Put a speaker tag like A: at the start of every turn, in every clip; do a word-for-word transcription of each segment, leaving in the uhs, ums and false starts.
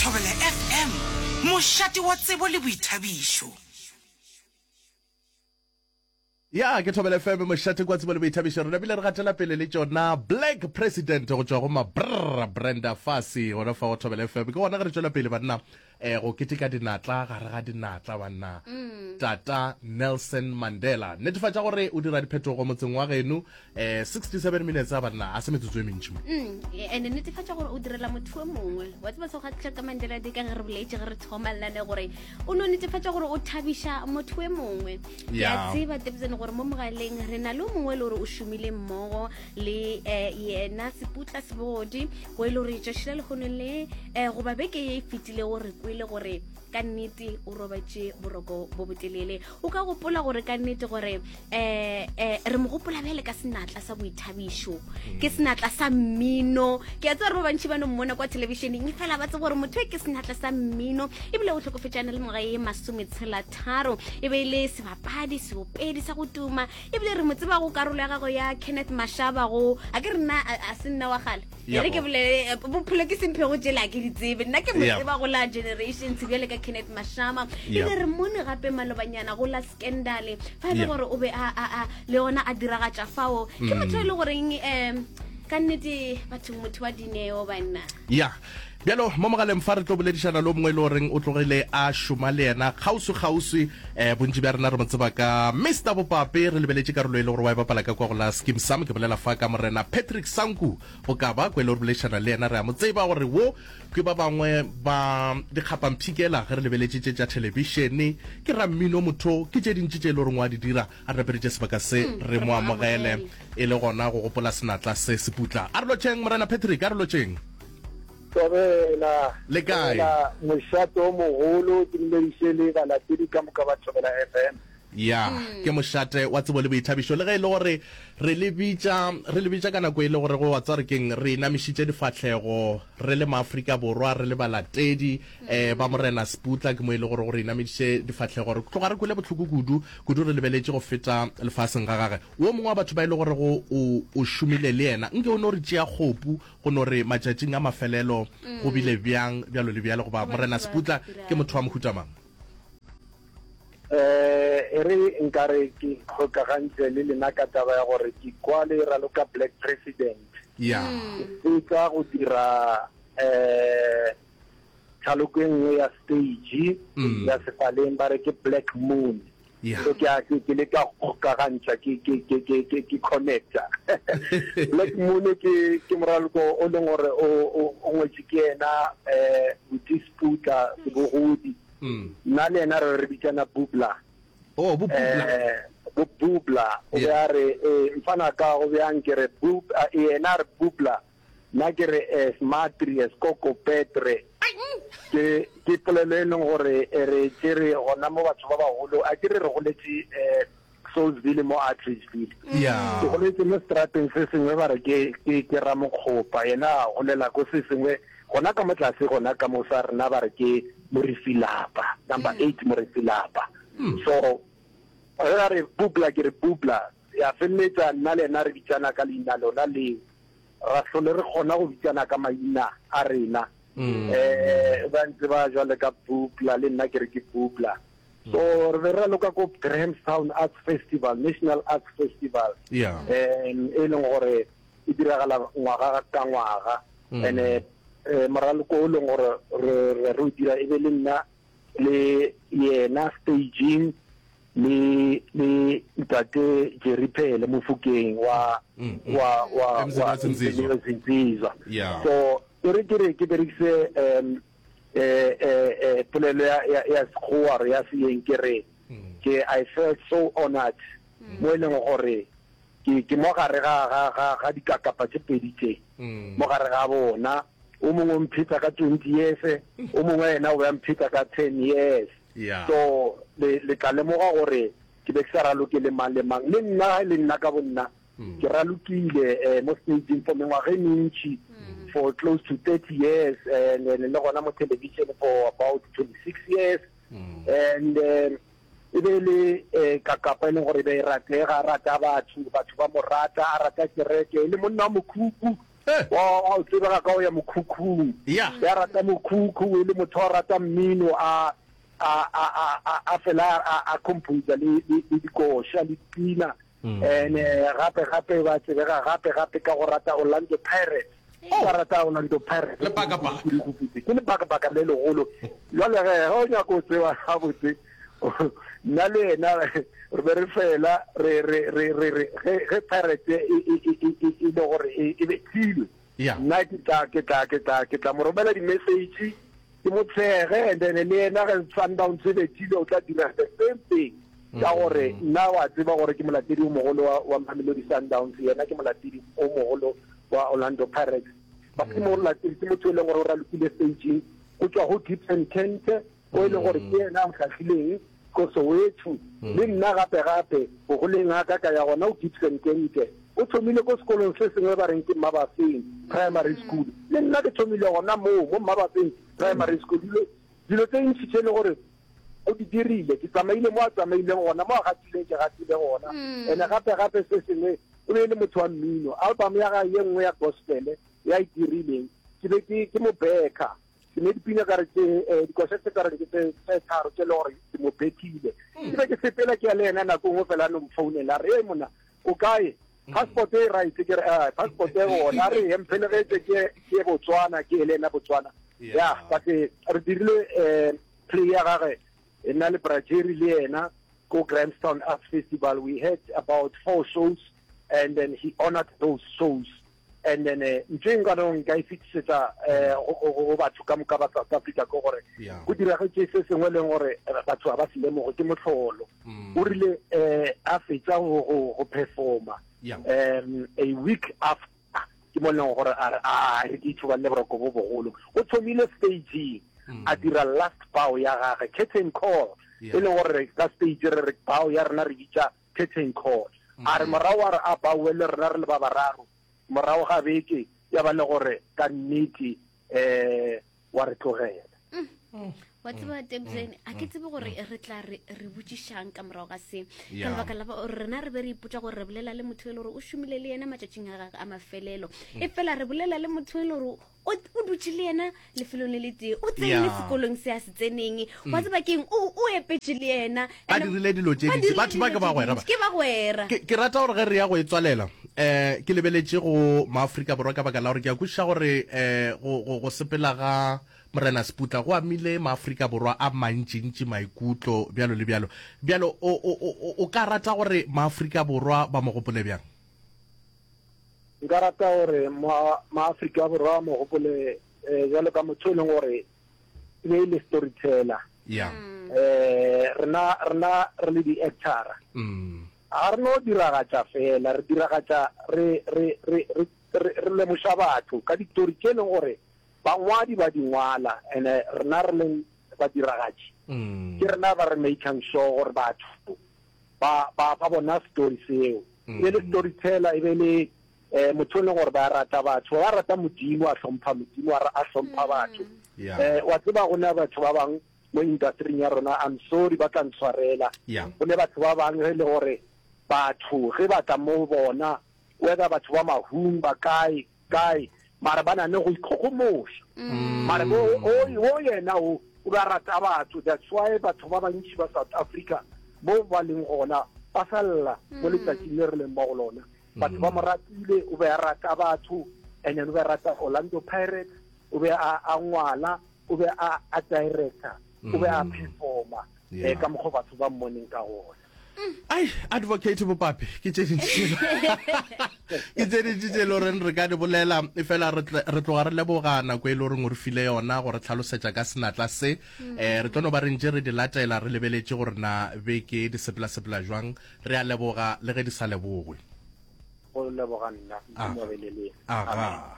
A: Thobela F M, mošate wa tsebo le boithabišo.
B: Ya, ke Thobela F M, mošate kwa tsebo le boithabišo. Re nabile re gatela pele le tšona Black President go tšwa go Mabrr Brenda Fassie gona fa go Thobela F M. Ke gona ge re tšwela pele, banna, um go keteka dinatla gare ga dinatla, banna, Tata Nelson Mandela. Netefatša gore o dira diphetogo motseng wa geno. um sixty-seven minutes a, banna, a se metsotso e mentši mo.
C: Mm, and netefatša gore o direla motho o mongwe wa tseba. Se gatla ka Mandela Day, ka ge re boletse ge re thoma lelane gore o no netefatša gore o thabiša motho e mongwe. Ke a
B: Yeah.
C: tseba tebsene gore mo mogaleng re na le o mongwe e le gore o šomile mmogo le um yena Seputla Sebogodi, go e le gore tšatši la lekgono le um goba beke ye e fetilego re kwele gore ka nnete o robatše boroko bo botelele. O ka gopola gore ka nnete gore um um re mo gopola bjale ka senatla sa boithabišo, ke senatla sa mmino. Ke a tseba gore ba bantšhi ba no mmona kwa thelebišeneng, e fela ba tseba gore motho e ke senatla sa mmino, ebile o tlhokofetšana le ngwaga ye masometshela tharo. E be e le sebapadi, seopedi sa go tuma, ebile re mo tseba go karolo ya gago ya Kenneth Mashaba. Go a ke re nna a a se nna wa gale, e re ke
B: Yabo.
C: bolele, eh, bophelo ke semphego tšela ke di tsebe. Nna ke mo
B: Yabo.
C: tseba go la Generations bjale ka Kenneth Mashama.
B: Yabo.
C: Ebile re mmone gape malobanyana go la Scandal, fa e le
B: Yabo.
C: gore o be a a a le ona a diragatša fao. Ke motho e le goreng um ka nnete batho, motho wa dineo, banna.
B: Ya, bjalo mo mogaleng fa re tlo boledišana le o mongwe e le goreng o tlogile a šoma le yena kgauswi-kgauswi. um bontši bja rena re mo tseba ka Mister Bopape, re lebeletše karolo e le gore wa e bapala ka kwa go la Skeem Sam. Ke bolela fa ka morena Patrick Sanku Bokaba, ko e le gore boledišana le yena. Re a mo tseba gore wo ke ba bangwe ba dikgapampshikela ge re lebeletše tše tša thelebišene, ke rammino, motho ke tše dintši tše e le goreng wa di dira. A re naperetše sebaka se re mo amogele e le gona go gopola senatla se Seputla. A re lotšheng, morena Patrick, a re lotšheng.
D: Thobela.
B: Le kae?
D: Thobela, mošate o mogolo. Ke dumediše le balatedi ka moka ba Thobela F M.
B: Ya, ke mošate wa tsebo le boithabišo. Le ge e le gore re le bitša re le bitša ka nako e le gore go wa tswa re keng re inamišitše difahlego re le maAfrika Borwa, re le balatedi um ba morena Seputla, ke mo e le gore gore inamišitše difahlego, re tloga re kwele bohloko kudu kudu re lebeletše go feta lefaseng ga gage wo mongwe wa batho ba e le gore go o o šomile le yena. Nke o no re tšea kgopu go no re matšatšing a mafelelo go bile bjang, bjalo le bjalo, goba morena Seputla ke motho wa mohuta mang?
D: eh e re nkare ke kgokagantse le lena ka taba ya gore ke kwa le raloka Black President.
B: Ya
D: ke fetsa go dira eh thaloko e nngwe ya stage
B: Mm.
D: ya sefaleng, ba re ke Black Moon.
B: Ya
D: so ke a ke ke leka go kgokagantšha, ke ke ke ke ke ke connecta. Black Moon ke ke moraloko o leng gore o o o ngwetše ke yena eh Buti Sputla Sebogodi.
B: Mm.
D: Nna le yena re re bitsana Bubla.
B: Oh, bo Bubla.
D: eh bo Bubla o be
B: Yeah.
D: a re, eh mfana ka go bjang? Ke re bub, a- yena a re Bubla, nna ke re es matri es koko petre. Ke ke polelo e leng gore e re tšere gona mo batho ba bagolo. A ke re re goletše eh Soulsville mo Atteridgeville.
B: Ya
D: ke goletse mo strateng se sengwe ba re ke ke ke Ramokgopa, yena a golela ko se sengwe gona ka mo tlase gona ka mo sa rena, ba re ke Morifilapa, number eight Morifilapa. So ge a re Bubla, ke re Bubla. Ya feleletša nna le yena re bitsana ka leina lona leo, ra hlole re kgona go bitsana ka maina a rena. um ba ntse ba jwale ka Bubla, le nna ke re ke Bubla. So re be re raloka ko Grahamstown Arts Festival, National Arts Festival,
B: ya
D: um e leng gore e diragala ngwaga ka ngwaga. And eh moraloko o leng gore re re re o dira e be le nna le yena staging le le ntate Jerry Phele Mofokeng wa wa wa wa
B: Zinzizwa.
D: Zinzizwa.
B: Yeah.
D: So e re ke re ke berekise um eh eh eh polelo ya ya ya Sekgowa re ya seeng, ke re ke I felt so honored mo e leng gore ke ke mo gare ga ga ga ga dikakapa tše pedi tše, mo gare ga bona. O mongwe o mpheta ka twenty years, o mongwe yena o be a mpheta ka ten years.
B: Yeah.
D: So le le tla lemoga gore ke be ke sa raloke le mang le mang. Le nna, le nna ka bonna ke ralokile eh, mo stageng for mengwaga e mentši, for close to thirty years, and then le gona mo television for about twenty-six years. And um, e be le eh, kakapa e leng gore e be e ratega, a rata batho, batho ba mo rata, a rata kereke, e le monna wa mokhukhu.
B: Eh.
D: Wa wa o tsebega ka go ya mokhukhung.
B: Yeah.
D: Ya rata mokhukhu e le motho wa rata mmino a a a a a a fela a a composer le le le dikoša le dipina. And eh, gape gape ba tsebega gape gape ka go rata Orlando Pirates. Ba rata Orlando Pirates.
B: Lebakabaka.
D: Ke lebakabaka le legolo. Jwale ge ge o nyaka go tseba gabotse nna le yena re be re fela re re re re re ge ge Pirates e e e e e e le gore e e bethilwe.
B: Yeah.
D: Nna ke tla ke tla ke tla ke tla mo romela di-message ke mo tshege and then le yena ge Sundowns e bethile o tla dira the same thing. Ka gore nna wa tseba gore ke molatedi o mogolo wa wa Mamelodi Sundowns yena ke molatedi o mogolo wa Orlando Pirates. Ba ke molatedi ke motho e leng gore o ralokile stageng go tswa go Gibson Kente o e leng gore ke yena a ntlhahlileng ko Soweto le nna gape gape bogoleng ga ka ka ya gona o Gibson Kente o thomile ko sekolong se sengwe ba reng ke Mabafeng Primary School le nna ke thomile gona moo mo Mabafeng Primary School dilo dilo tse ntši tše e le gore o di dirile ke tsamaile mo a tsamaileng gona mo a gatileng ke gatile gona and gape gape se sengwe o be e le motho wa mmino album ya gagwe ye nngwe ya gospel ya e dirileng ke be ke ke mo backa ke ne dipina ka re tse eh, dikoša tse ka re ke tse tse tharo tse le gore ke mo bethile ke be ke sepela ke ya le yena nako nngwe fela a no mfounela a re "Hey, monna o kae passport e right ke re "Ah, passport e gona a re "He, mphelegetse ke ke ye Botswana ke ye le yena Botswana
B: Yeah.
D: ya but eh, re dirile eh play ya gagwe e nna le Brajeri le yena ko Grahamstown Arts Festival we had about four shows and then he honored those shows and then eh, ntho e nka nong nka e fetisetsa eh, go- go go batho ka moka ba South Africa ke gore
B: Yeah.
D: go diragetše se sengwe e leng gore eh, batho ga ba se lemoge ke mohlolo o rile eh a fetša go go go performa
B: Yeah.
D: um a week after ke mo e leng gore a re a re ke ithoballe boroko bo bogolo o thomile stageng a dira last bow ya gagwe curtain call
B: Yeah.
D: e leng gore ka stage re re bow ya rena re bitša curtain call a re morago a re a bowe le rena re le ba bararo morago ga beke ya ba le gore ka nnete um wa re tlogela
C: wa tseba Tebsen a ke tsebe gore re tla re re botšišang ka morago ga se ka
B: Yeah.
C: lebaka la gore rena re be re ipotša gore re bolela le motho e le gore o šomile le yena matšatšing a gagwe a mafelelo e fela re bolela le motho e le gore o o dutše le yena lefelong le le tee o tsene
B: Yeah.
C: sekolong se a se tseneng wa tseba keng o o epetše le yena
B: Ba
C: And-
B: dirile dilo tše
C: ba
B: dintši.
C: dirile
B: Batho ba
C: dilo
B: ke bagwera
C: tše
B: ba.
C: dintši. ke bagwera
B: ke ke rata gore ge re ya go e tswalela um ke lebeletše go maafrika borwa ka baka la gore ke a kwešiša gore um go, go, go sepela ga morena Seputla go amile maafrika borwa a mantšintši maikutlo bjalo le bjalo bjalo o, o, o, o ka rata gore maafrika borwa ba mo gopole bjang
D: nka rata gore ma maafrika borwa a mo gopole um jalo ka motho e leng gore e be e le storyteller
B: ya
D: eh rena rena re le di-actora
B: mm.
D: ga re no diragatša fela re diragatša re re re re re re lemoša batho ka ditori tše e leng gore bangwadi ba di ngwala and rena re leng badiragatši
B: Mm.
D: ke rena ba re making sure gore batho ba ba ba bona story seo e be le storyteller e be le eh motho e leng gore ba rata batho ba rata modimo a hlompha modimo a ra- a hlompha batho
B: Yeah.
D: eh wa tseba go na batho ba bang mo industry ya rona I'm sorry ba tla ntshwarela
B: Yeah.
D: go ne batho ba bang ge e le gore batho ge ba tla mo bona whether batho ba mahung ba kae kae mara ba na le go ikgogomoša mara bo o o yena o o ba rata batho that's why batho ba bantši ba South Africa mo ba leng gona ba sa lla mo letsatsing le re leng mo go lona batho ba mo ratile o be a rata batho and then o be a rata Orlando Pirates o be a a ngwala o be a a director o be a performa
B: Yeah.
D: eh ka mokgwa batho ba mmoneng ka gona
B: ai advocate Bopape ke tše dintši ke tše dintši tše e le goreng re ka di bolela e fela re tle- re tloga re leboga nako e le goreng o re file yona gore tlhalosetša ka senatla se um re tlo no ba re ntše re di latela re lebeletše gore na beke di sepela-sepela jwang re a leboga le ge di sa lebogwe
D: go leboga nna
B: Ah.
D: Modimo a be le lena.
B: aga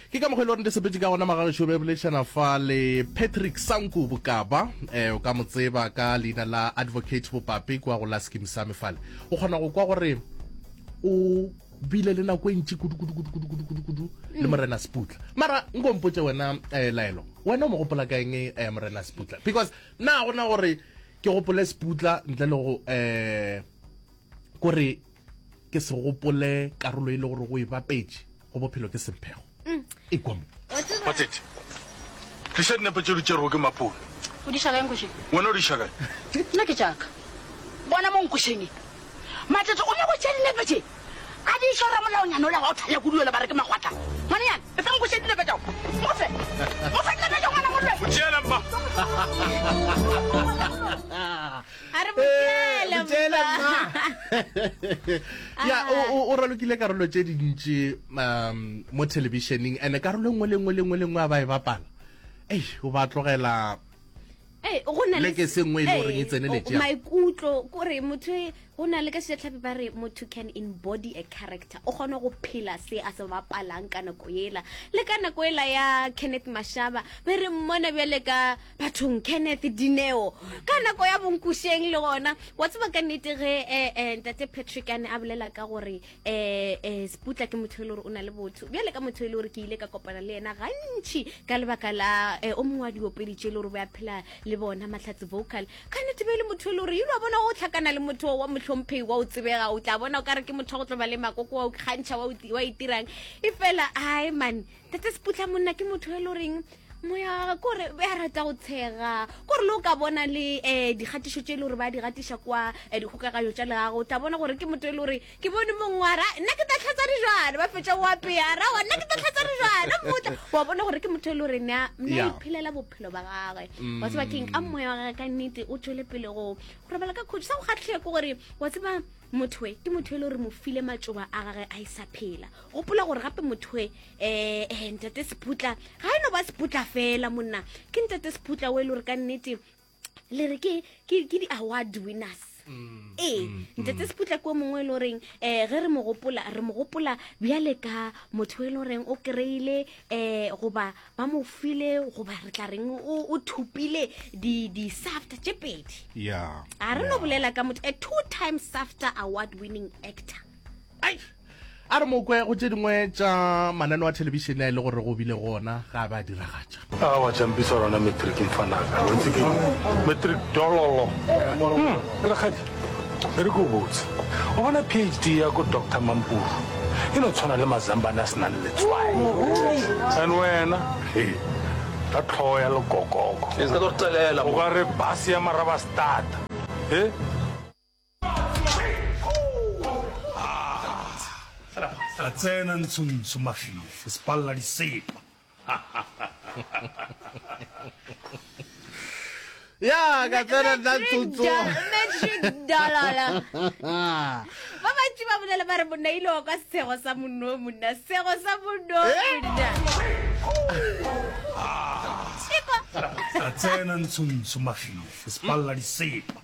B: ke ka mokgwa e le gore di sepetse ka gona magagešo be boledišana fa le Patrick Sanku Bokaba um o ka mo tseba ka leina la advocate Bopape kua go la Skeem Saam fale o kgona go kwa gore o bile le nako e ntši kudu-kudu-kudu-kudu-kudu-kudu le morena Seputla mara nko mpotse wena um laelo wena o mo gopola ka eng um morena Seputla because nna gona gore ke gopole Seputla ntle le go um kore ke se gopole karolo e le gore go e bapetše go bophelo ke semphego Ekwa mo.
E: Matete, tliša dinepe tše di tšerwego ke Mapone.
F: O di iša kae Nkošeng?
E: Wena o di iša kae?
F: Nna ke tša ka. Bona mo Nkošeng e. Matete o nyako tšea dinepe tše a di iša ramolaonyana ola wa go thanya kudu yola ba re ke Makgwatla. Ngwanenyana, efa Nkošeng dinepe tšao. Mo fe. Mo fe dinepe tšeo ngwana molwe.
E: Mo tšeele mma.
C: A re mo tšeele
B: Mo tšeele
C: mma.
B: mma. Ya, o, o, o ralokile karolo tše dintši um mo thelebišeneng, and karolo e nngwe le nngwe le nngwe le nngwe a ba e bapala, ei, o ba tlogela
C: Ee, go na le
B: le ke se nngwe e le goreng e
C: Ee,
B: tseneletše
C: o-
B: ya.
C: maikutlo kore motho e- go na le ka sejatlhapi ba re motho can embody a character, o kgona go phela se a se bapalang ka nako ela. Le ka nako ela ya Kenneth Mashaba be re mmona bjale ka bathong Kenneth Dineo ka nako ya Bonkušeng le gona wa tseba ka nnete ge, eh, eh, ntate Patrick a ne a bolela ka gore, eh, eh, Seputla ke motho e le gore o na le botho bjale ka motho e le gore ke ile ka kopana le yena gantši ka lebaka la, eh, o mongwe wa diopedi tše e le gore ba phela le bona Mahlatse Vocal. Ka nnete be e le motho e le gore ile wa bona o tlhakana le motho wa mohlomphei wa o tsebega, o tla bona o ka re ke motho wa go tlo ba le makoko wa o kgantšha wa o ti-, wa itirang e fela. Ai man, tate Seputla monna ke motho e le goreng moya wa gagwe kore be a rata go tshega, kore le o ka bona le, eh, dikgatišo tše e le gore ba di gatiša kwa, eh, dikgokaganyo tša leago, o tla bona gore ke motho e le gore ke bone mongwe wa ra nna ke tla tlhatsa dijwana, ba fetša go apea ra wa nna ke tla tlhatsa dijwana, mmotla wa bona gore ke motho e le gore ne a, ne a
B: Yeah.
C: iphelela bophelo ba gagwe. Wa tseba keng ka moya wa gagwe ka nnete o tšwele pele go go robala ka khutšo. Sa go kgatlhega ke gore wa tseba motho e ke motho e le gore mo file matšoba a gagwe a e sa phela. Gopola gore gape motho e, eh, eh, ntate Seputla ga e no ba Seputla fela monna, ke ntate Seputla o e le gore ka nnete le re ke, ke, ke di-award winners. Ee, ntate Seputla ke o mongwe e le goreng, eh, ge re mo gopola, re mo gopola bjale ka motho e le goreng o kry-ile, eh, goba ba mo file, goba re tla reng o, o thopile di, di-SAFTA tše pedi.
B: Yeah,
C: A re no
B: yeah.
C: bolela ka motho, a two-time SAFTA award winning actor.
B: Ai, a re mo kwe go tše dingwe tša mananeo a thelebišene a e le gore go bile gona ga ba diragatša.
E: A wa tšampisa rona matric mfanaka, o itse ke matric dololo. Hmm, rakgadi, e re ke o botse, o bona P H D ya ko Doctor Mampuru e no tshwana le mazambane a senang letswai. And wena, he, ka tlhogo ya lekokoko.
G: E se ka tlo re telela
E: O
G: mo.
E: ka re bus ya Marabastata. He?
H: A tsena ntshontsho mafifi sepalla disepa.
B: Ya, ka tsena nna
C: Matric
B: ntsotso.
C: do- matric dollar. Ba bantši ba bolela ba re monna ile wa kwa sego sa monno monna, sego sa monno monna. Ekwa.
H: A tsena ntshontsho mafifi sepalla disepa.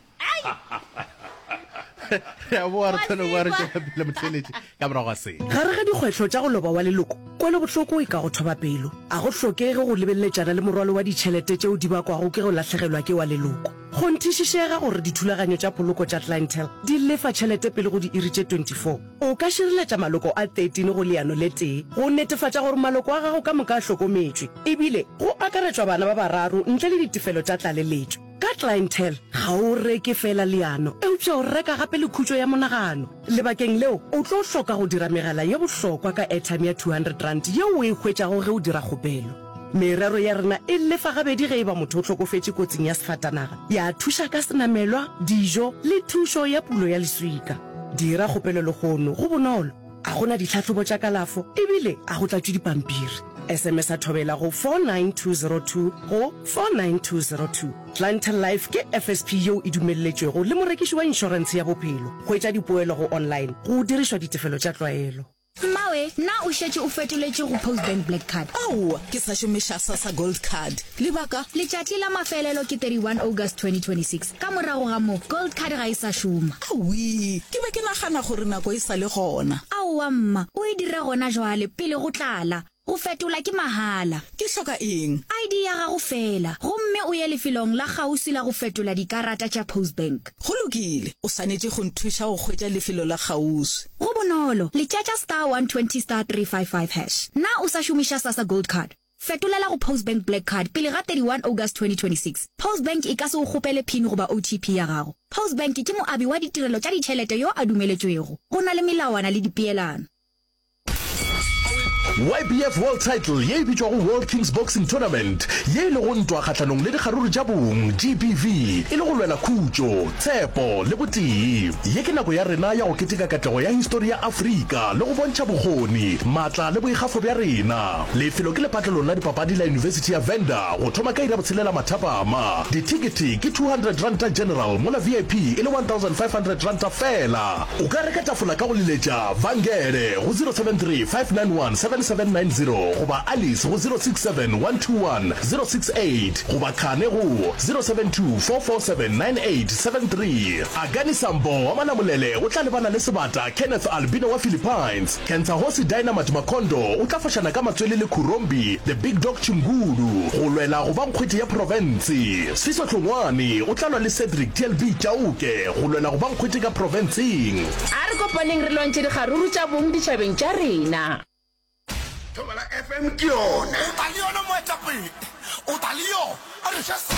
B: Re a boa, re thole boa, re
C: Wa tseba.
B: tšwela pele motheeletši ka morago ga se.
I: Gare ga dikgwetlho tša go loba wa leloko, kwelobohloko e ka go thoba pelo. A go hlokege go lebeleletšana le morwalo wa ditšhelete tšeo di bakwago ke go lahlegelwa ke wa leloko. Kgonthišišega gore dithulaganyo tša poloko tša Clientele di lefa tšhelete pele go diiri tše twenty-four. O ka šireletša maloko a thirteen go leano le tee go netefatša gore maloko a gago ka moka a hlokometšwe, ebile go akaretšwa bana ba bararo ntle le ditefelo tša tlaleletšo. Ka Clientele ga o reke fela leano, eupša o reka gape le khutšo ya monagano. Lebakeng leo o tlo hloka go dira megala ye bohlokwa ka airtime ya two hundred rand yeo o e hwetšago ge o dira kgopelo. Merero ya rena e lefa gabedi ge e ba motho o hlokofetše kotsing ya sefatanaga, ya thuša ka senamelwa, dijo le thušo ya pulo ya leswika. Dira kgopelo lehono, go bonolo. A gona ditlhahlobo tša kalafo ebile a go tlatšwe dipampiri. S M S a thobela go four nine two zero two go four nine two zero two. Clientele Life ke F S P yeo e dumelletšwego le morekiši wa inšorense ya bophelo. Hwetša dipoelo go online go dirišwa ditefelo tša tlwaelo.
J: Mmawe, na o šetše o fetoletše go Postbank Black Card?
A: Aowa, ke sa šomiša SASSA Gold Card. Lebaka?
J: Letšatši la mafelelo ke thirty-one August twenty twenty-six. Ka morago ga moo, Gold Card ga e sa šoma.
A: Aowi, ke be ke nagana gore nako e sa le gona.
J: Aowa mma, o e dire gona jwale pele go tlala. Go fetola ke mahala.
A: Ke hloka eng?
J: I D ya gago fela, gomme o ye lefelong la kgauswi la go fetola dikarata tša Postbank.
A: Go lokile, o swanetše go nthuša go hwetša lefelo la kgauswi.
J: Go bonolo, letšatša star one twenty star three five five hash. Na o sa šomiša SASSA Gold Card? Fetolela go Postbank Black Card pele ga thirty-one August twenty twenty-six. Postbank e ka se o kgopele PIN goba O T P ya gago. Postbank ke moabi wa ditirelo tša ditšhelete yo a dumeletšwego. Go na le melawana le dipeelano.
G: YBF World Title ye e bitšwago World Kings Boxing Tournament, ye e lego ntwa kgahlanong le dikgaruru tša bong, GBV, e le go lwela khutšo, tshepo le botee. Ye ke nako ya rena ya go keteka katlego ya histori ya Afrika le go bontšha bokgoni, maatla le boikgafo bja rena. Lefelo ke lepatlelong la dipapadi la Yunibesithi ya Venda go thoma ka iri ya botshelela mathapama. Dithekethe ke two hundred ranta general mola VIP e le one thousand five hundred ranta feela. O ka reka tafola ka go leletša Vangele go zero seven three five nine one seven seven nine zero goba Alice go zero six seven one two one zero six eight goba Khane go zero seven two four four seven nine eight seven three. Akani Sambo wa Malamulele o tla lebana le sebata Kenneth Albino wa Philippines. Kentsahosi Dynamite Makondo o tla fošana ka matswele le Khurombi The Big Dog Chingulu go lwela go ba nkgwete ya profense. Sfiso Hlongwane o tla lwa le Cedric TLB Chauke go lwela go ba nkgwete ka profenseng.
K: A re kopaneng re lwantšhe dikgaruru tša bong ditšhabeng tša rena.
L: Thobela FM ke yona. O tla le yona moetapele. O tla le yona. A re.